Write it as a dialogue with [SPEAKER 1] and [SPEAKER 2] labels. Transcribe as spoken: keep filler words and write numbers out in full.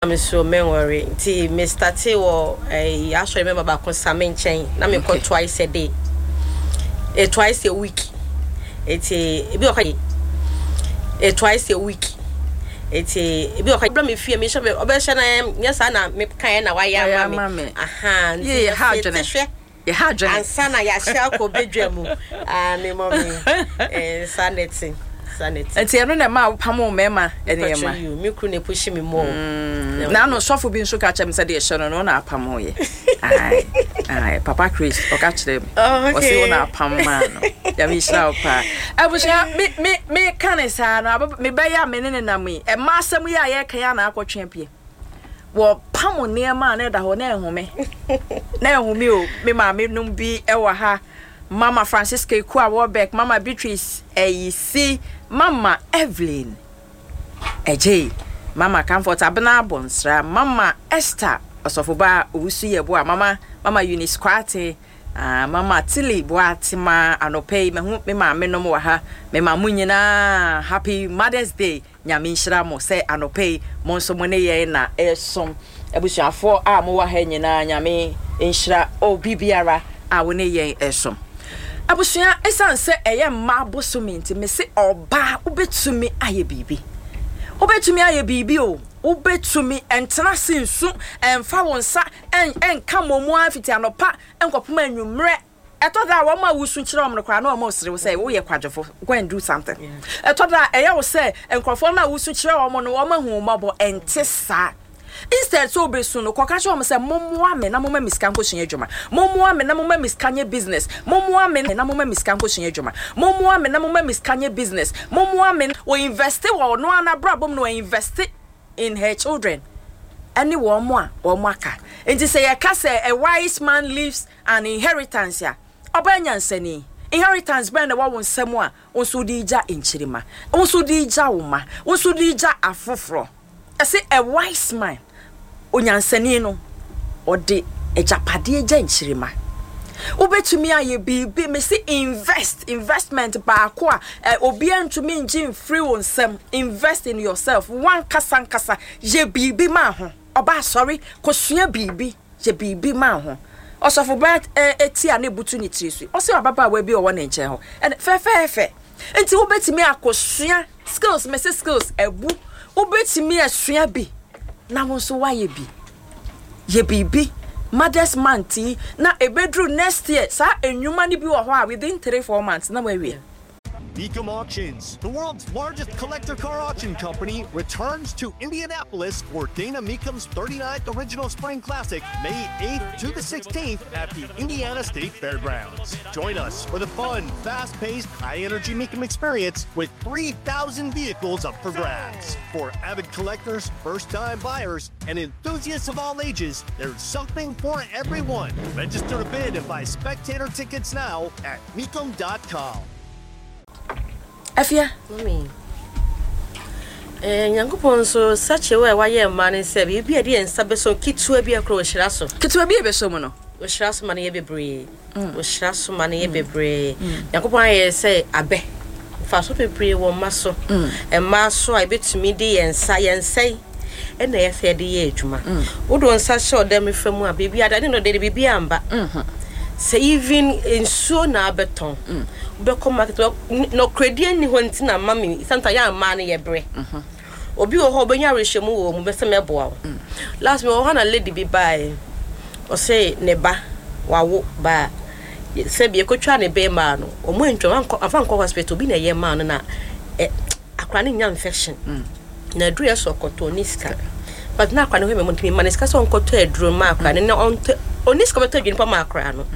[SPEAKER 1] Me so mɛnwɔre nti me start wɔ ɛyi asɔre mɛma baako sa me nkyɛn na mekɔ
[SPEAKER 2] Okay.
[SPEAKER 1] twice a day, eh, twice a week. Eti ebi wɔ kɔ eh, twice a week. Eti ebi wɔ kɔ bra me fie, me hyɛ me ɔbɛhyɛ na nyɛ saa na me kan na wayɛ
[SPEAKER 2] Wayɛ
[SPEAKER 1] ama
[SPEAKER 2] ama
[SPEAKER 1] me.
[SPEAKER 2] me.
[SPEAKER 1] Aha, nti
[SPEAKER 2] Yie, ha
[SPEAKER 1] yɛte
[SPEAKER 2] adwene.
[SPEAKER 1] hwɛ
[SPEAKER 2] Yɛha adwene.
[SPEAKER 1] Ansa na yɛahyɛ akɔ bedwa mu ah, ne mɔmi, eh, saa na ɛte, saa na ɛte.
[SPEAKER 2] Nti ɛno na ɛma wopam wo mmarima nneɛma?
[SPEAKER 1] Patro you, me kuru na epush me more.
[SPEAKER 2] Na ano sɔfo bi nso ka kyerɛ me sɛ deɛ ɛhyɛ no no na apam wo yɛ. Ae, ae, Papa Chris ɔka kyerɛ me.
[SPEAKER 1] Oh, okay.
[SPEAKER 2] Ɔse wo na apam maa no. Nyame nhyira wo paa. Abusua, me me me ka ne saa no, abɛ- mebɛyɛ a me ne ne nam yi, ɛma asɛm yi a yɛreka yi a na akɔtwe apue. Wɔpam nneɛma a na ɛda hɔ na ɛhome na ɛhome o. Me maame nom bi ɛwɔ ha, Mama Francisca Ekua Warbeck, Mama Beatrice Ɛyisi, Mama Evelyn Ɛgyei, Mama Comfort Abena Abɔnsra, Mama Esther Ɔsɔfoba Owusu Yɛboa, Mama Mama Eunice Kwate, ah, Mama Tilly Boatema. Anɔpɛ yi mahu me maame nom wɔ ha. Me ma mo nyinaa happy Mother's Day. Nyame nhyira mo sɛ anɔpɛ yi mo nso mo ne yɛn na ɛsom. Abusuafoɔ a mowɔ ha nyinaa, Nyame nhyira obi biara a wo ne yɛn ɛsom. Abusua, ɛsiane sɛ ɛyɛ mmaa bosome nti, me se ɔbaa, wobɛtumi ayɛ biribi, wobɛtumi ayɛ biribi o. Wobɛtumi ɛntena se nsu, ɛmfa wo nsa ɛn ɛnka mmɔmu ara fiti anɔpa nkɔpem anwummerɛ. Ɛtɔ da a wɔn a wosu kyerɛ wɔn no koraa na wɔn resere wo sɛ woyɛ kwadwofo, go and do something. Ɛtɔ da a ɛyɛ wo sɛ nkurɔfoɔ no a wosu kyerɛ wɔn no, wɔn ahu wo mmɔbɔ. Ɛnte saa. Instead sɛ wobɛsu no, kɔka kyerɛ wɔn sɛ mommoa me na momma me sika nkɔsua adwuma, mommoa me na momma me sika nyɛ business, mommoa me na momma me sika nkɔsua adwuma, mommoa me na momma me sika nyɛ business, mommoa me. Wɔ invest wɔ ɔno ara n'abrabɔ mu na wɔ invest in her children ɛne wɔn mo a wɔn aka. Nti sɛ yɛka sɛ a wise man leaves an inheritance a, ɔbaa nyansani, inheritance bɛn na ɛwɔ wo nsam a wo nso de gya nkyirima, wo nso de gya wo ma, wo nso de gya afoforɔ? Ɛsɛ a wise man, onyansani no, ɔde agyapadeɛ gya nkyirima. Wobɛtumi ayɛ biribi. Mesi invest, investment baako a ɛ obiara ntumi ngye mfiri wo nsam, invest in yourself. Wankasa nkasa yɛ biribi ma ho. Ɔba asɔre, kɔsua biribi, yɛ biribi ma ho. Ɔsɔfo baa ɛ eti a ne butu ne tiri so, ɔsɛ ababaawa bi a ɔwɔ ne nkyɛn hɔ ɛnɛ fɛfɛɛfɛ. Nti wobɛtumi akɔsua skills. Mesi skills ɛbu, wobɛtumi asua bi na wo nso woayɛ bi. Yɛ biribi Mothers Month yi na ebeduru next year, saa enwuma no bi wɔ hɔ a within three four months na wawie.
[SPEAKER 3] Mecum Auctions, the world's largest collector car auction company, returns to Indianapolis for Dana Mecum's thirty-ninth Original Spring Classic, May eighth to the sixteenth at the Indiana State Fairgrounds. Join us for the fun, fast-paced, high-energy Mecum experience with three thousand vehicles up for grabs. For avid collectors, first-time buyers, and enthusiasts of all ages, there's something for everyone. Register to bid and buy spectator tickets now at Mecum dot com.
[SPEAKER 2] Afia.
[SPEAKER 1] Mami. Eh, Nyankopɔn nso such a way a wayɛ mmaa ne sɛ biribi a ɛde yɛn nsa bɛsɔ, ketewa bi akora, ɔhyira so.
[SPEAKER 2] Ketewa bi a ɛbɛsɔ mu no.
[SPEAKER 1] Ɔhyira so ma no yɛ bebree, ɔhyira so ma no yɛ bebree. Nyankopɔn ayɛ sɛ abɛ mfaso bebree wɔ mma so, mmaa so a ebɛtumi de yɛn nsa, yɛn nsa yi ɛna yɛ sɛ yɛde yɛ adwuma. Wode wo nsa hyɛ ɔdam nifa mu a, biribi ada ne no de biribi amba sɛ even nsuo na abɛtɔn, wobɛkɔ market, nɔkoradie nni hɔ. Nti na ma me sometimes yɛ mmaa no yɛbrɛ. Obi wɔ hɔ a ɔbɛnya awerɛhyɛmu wɔ mu bɛsɛ mɛboa wo. Last me wɔ hɔ na lady bi baeɛ, ɔsɛ ne ba wawo baa sɛbi ekotwa ne bɛrima no, ɔmo antwa afa nkɔ hospital bi na ɛyɛ maa no na ɛ akora no nya infection na aduru yɛ sɛ ɔkɔtɔ ɔne sika, but na akora no hɔ mɛ ntumi ma ne sika sɛ ɔnkɔtɔ aduro ma akora no na ɔntɔ, ɔne sika bɛtɔ aduro nipa ma akora no.